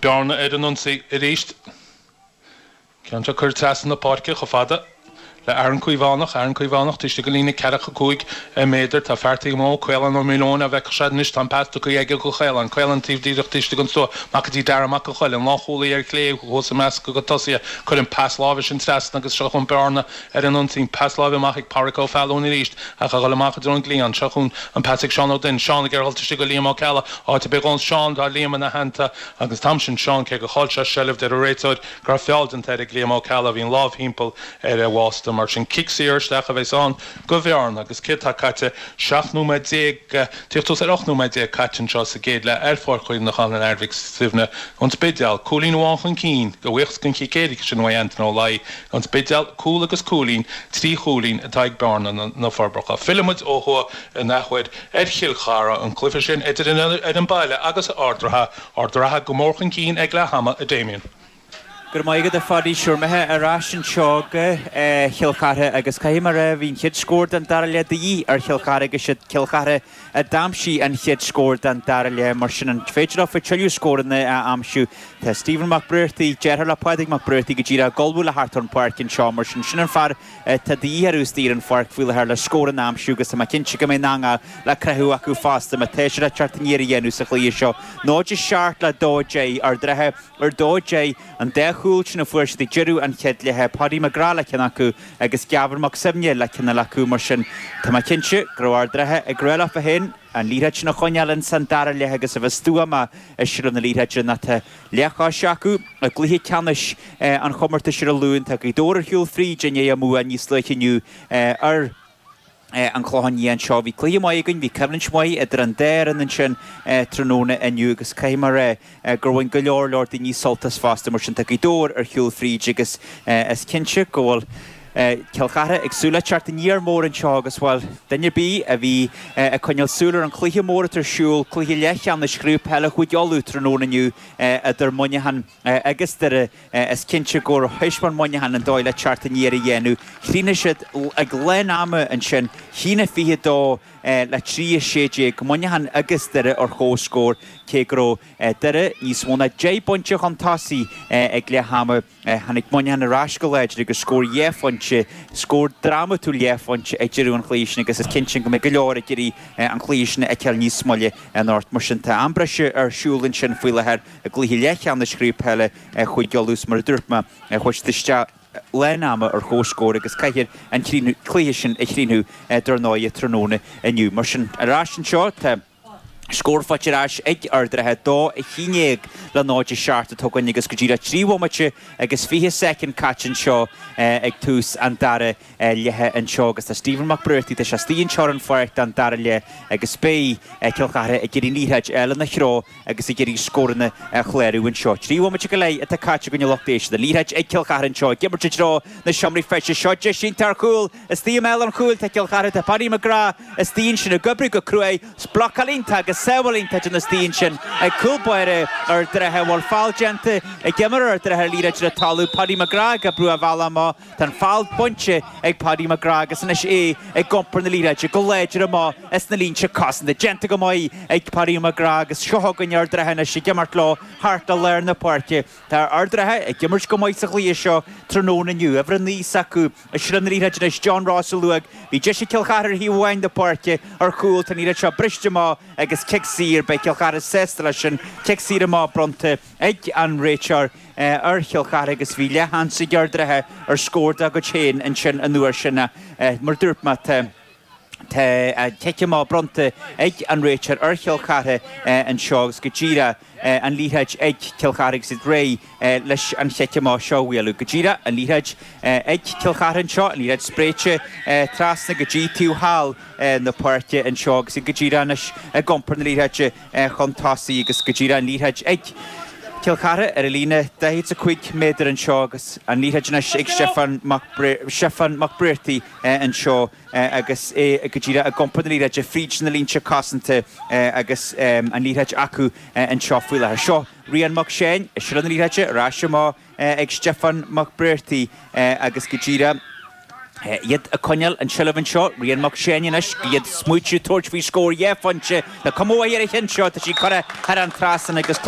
Bearna ar an ionsaí arís. Ceann seo curtha trasna na páirce chomh fada le Aaron Caomhánach. Aaron Caomhánach taobh istigh den líne ceathracha 5 méadar. Tá fear taobh amuigh, Caolán Ó Maoileoin, á bhfeicfeadh sé anois. Tá an pas tugtha aige go Caolán. Caolán taobh díreach taobh istigh den stua. Amach go dtí Dara Mac an Choill, an lánchúlaí ar chlé thuas i measc a gcuid tosaithe. Cuireann pas láimhe sin trasna agus seo chugainn Bearna ar an ionsaí. Pas láimhe amach ag Páraic Ó Fealúin arís ach a dhul amach i dtreo an gcliathán. Seo chugainn an pas ag Seán Ó Duinn. Seán ag iarraidh dhul istigh go Liam Ó Ceallaigh. Áit ar bith dhó Seán, tá Liam ina theannta agus an t-am sin Seán cé gur chaill sé seilbh deir an réiteoir go raibh feall déanta air ag Liam Ó Ceallaigh, bhí an lámh thimpeall ar a bhásta. Mar sin, cic saor isteach a bheas ann go Bhearna agus céard tá caite? 17 nóiméad, tíocht suas ar 18 nóiméad caite anseo sa gcéad leath ar Pháirc Chuimhneacháin an Athar Mhic Suibhne, An Spidéal, cúilín amháin chun cinn, a bhuíochas den chic éirice sin uaidh Antaine Ó Laoi, An Spidéal, cúl agus cúilín, trí chúilín atá ag Bearna, Na Forbacha. Fillfidh muid ó thuaidh in athuair ar Chill Chartha, an cluiche sin idir an fhoireann baile agus Ard an Rátha. Ard an Rátha go mór chun cinn ag leath ama, a Damien. Go raibh maith agat a Phadaí, sure imithe ar ais anseo go Chill Chartha agus caithfidh mé a rá bhí an chéad scór den dara leath de dhíth ar Chill Chartha agus siad Cill Chartha a d'aimsigh an chéad scór den dara leath mar sin an féidir leo tuilleadh scóranna a aimsiú? Tá Stephen Mac Briartaigh, deartháir le Pádraig Mac Briartaigh go díreach ag ullmhú le theacht ar an pháirc anseo mar sin sin an fear atá de dhíth orthu istigh ar an pháirc faoi láthair le scóranna a aimsiú agus tá mé cinnte go mbeidh an eangach le croitheadh acu fosta má tá siad le teacht aniar a dhéanamh sa chluiche seo. 0-7 le 2-10, Ard an Rátha ar 2-10, an dá chúl sin a fuair siad ag deireadh an chéad leatha, Paddy McGrath le ceann acu agus Gavin Mac Suibhne le ceann eile acu. Mar sin, tá mé cinnte go raibh Ard an Rátha ag rá leofa féin an liathróid sin a choinneáil ins an dara leath agus a bheith stuama i seilbh na liathróide nó tá leathchos acu i gcluiche ceannais an chomórtais ar an Luan. Tá Gaoth Dobhair ar shiúl fríd i ndiaidh a mbua níos luaithe inniu ar an Chlochán Liath anseo. Bhí cluiche maith againn, bhí coimhlint mhaith idir an dá fhoireann ansin tráthnóna inniu agus caithfidh mé a rá gur bhain go leor leor daoine sult as fosta. Mar sin tá Gaoth Dobhair ar shiúl fríd agus is cinnte go bhfuil Cill Chartha ag súil le teacht aniar mór anseo agus, bhuel, duine ar bith a bhí ag coinneáil súil ar an chluiche mór atá ar siúl, cluiche leathcheannais Chraobh Peile Chúige Uladh tráthnóna inniu idir Muineachán agus Doire, is cinnte gur thaispeáin Muineachán an dóigh le teacht aniar a dhéanamh. Chríochnaigh siad ag lán ama ansin, 1-22 le 3-16, Muineachán agus Doire ar comhscór, cé go raibh Doire níos mó ná 10 bpointe chun tosaigh ag leath ama. Tháinig Muineachán ar ais go láidir agus scór dhá phointe, scór drámatúil dhá phointe ag deireadh an chluiche sin agus is cinnte go mbeidh go leor ag iarraidh an cluiche sin a fheiceáil níos moille anocht. Mar sin tá am breise ar siúl ansin faoi láthair i gcluiche leathcheannais Chraobh Peile Chúige Uladh is mar a dúirt mé, chuaigh siad isteach lán ama ar comhscór agus caithfear an cluiche sin a chríochnú dar ndóigh tráthnóna inniu. Mar sin ar ais anseo tá. Scór faighte ar ais ag Ard an Rátha, 2-11 le 0-7 atá againn agus go díreach 3 bhomaite agus 20 soicind caite anseo ag tús an dara leatha anseo agus tá Stephen Mac Briartaigh, tá sé istigh anseo ar an pháirc don dara leath agus beidh Cill Chartha ag iarraidh an liathróid a fháil ina threo agus ag iarraidh scóranna a chlárú anseo. 3 bhomaite go leith atá caite againn a lucht éisteachta. Liathróid ag Cill Chartha anseo ag imirt i dtreo na seomraí feistis. Seo deis iontach ar chúl istigh i mbéal an chúil. Tá Cill Chartha, tá Paddy McGrath istigh ansin ag oibriú go cruaidh. Blocáil iontach agus sábháil iontach déanta istigh ansin ag cúl báire Ard an Rátha. Bhfuil feall déanta ag imreoir Ard an Rátha liathróid ar an talamh. Paddy McGrath ag oibriú a bhealach amach. Tá an feall bainte ag Paddy McGrath agus anois é ag iompar na liathróide go láidir amach as na línte cosanta. Déanta go maith ag Paddy McGrath agus seo chugainn Ard an Rátha anois ag imirt leo thart i lár na páirce. Tá Ard an Rátha ag imirt go maith sa chluiche seo tráthnóna inniu. Uimhir 9 s'acu i seilbh na liathróide anois, John Ross a luadh. Bhí deis ag Cill Chartha ar thaobh amháin na páirce ar chúl. Tá an liathróid seo briste amach agus cic saor. Beidh Cill Chartha sásta leis sin. Cic saor amach bronnta ag an réiteoir ar Chill Chartha agus bhí leathsheans ag Ard an Rátha ar scór dá gcuid féin ansin an uair sin. Mar a dúirt mé, tá. Tá cic amach bronnta ag an réiteoir ar Chill Chartha anseo agus go díreach an liathróid ag Cill Chartha agus iad réidh leis an chic amach seo a bhualadh. Go díreach an liathróid ag Cill Chartha anseo, an liathróid spréite trasna go dtí taobh thall na páirce anseo agus iad go díreach anois ag iompar na liathróide chun tosaigh agus go díreach an liathróid ag Cill Chartha ar an líne 45 méadar anseo agus an liathróid anois ag Stiofán Mac Briartaigh anseo. agus é go díreach ag iompar na liathróide fríd na línte cosanta agus an liathróid acu anseo faoi láthair. Seo Rian Mac Seáin i seilbh na liathróide ar ais amach ag Stiofán Mac Briartaigh agus go díreach iad ag coinneáil an tseilbh anseo. Rian Mac Seáin anois iad ag smaoitiú tabhairt faoi scór dhá phointe. Tá cuma mhaith ar an cheann seo, tá sí curtha thar an trasnán agus.